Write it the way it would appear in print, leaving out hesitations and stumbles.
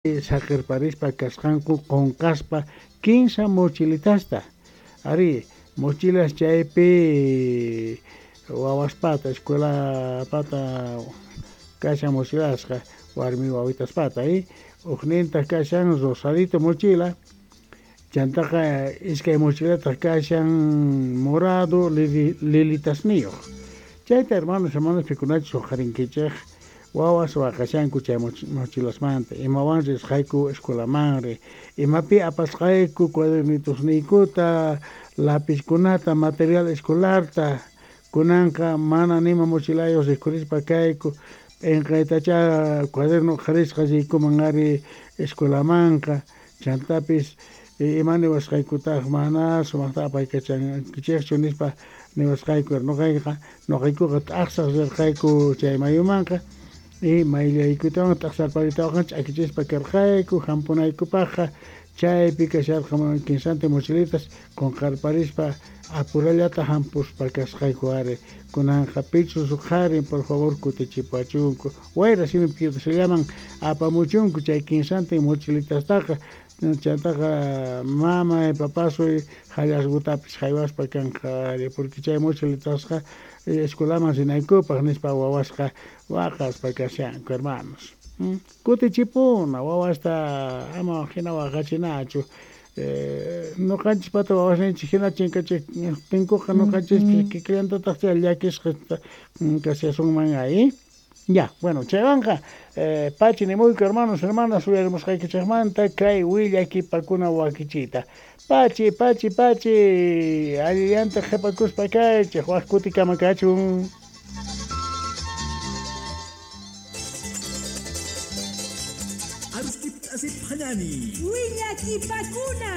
Saqerparispa kasqanku qonqaspa kinsa mochilitasta. Arí, mochilas chaypi wawaspata, escuelapata kashan mochilasqa, warmi wawitaspata, ujnintaj kashan rosadito mochila, chantaqa iskay mochilataj kashan morado lilitasniyoj. Chayta hermanos, hermanas pikunachus uqharinkichej, wawas waqashanku chay mochilasmanta, imawan risqayku escuelamanri, imapi apasqayku cuadernitosniykuta, lapizkunata, material escolarta, kunanqa mana nima mochilayoj rikhurispa kayku, p'enqaytachá cuaderno uqharisqa riykuman ari escuelamanqa, chantapis ima niwasqaykutaj mana sumajta apaykachankichejchu nispa niwasqayku. Noqaykuqa t'ajsaj rirqayku chay mayumanqa, y mayllaykuytawan t'ajsarpariytawanqa ch'akichispa karqayku jampunaykupajqa, chaypi kasharqa kinsantin mochilitas qonqarparispa apurallata jampuspa kasqayku ari. Kunanqa pichus uqharin, por favor kutichipuwachunku, wayra simi piutallaman apamuchunku chay kinsantin mochilitastaqa, chantaqa mamay papasuy hallasgutapis jaywaspa kanqa ari, porque chay mochilitasqa escuelaman rinaykupaj nispa wawasqa waqaspa kashanku, hermanos. Kutichipuna wawasta, ama jina waqachinachu. Noqanchispata wawasninchik jina chinkachejtinkuqa noqanchispis kikillantataq chay llakisqa kashasunman ahí. Ya, bueno, chaywanqa pachi nimuyku, hermanos, hermanas, uyarimusqaykichejmanta kay willakipakuna wakichiyta. Pachi, pachi, pachi, allillanta qhepakuspa kaychej, waj kutikama kachun. Willakipakuna.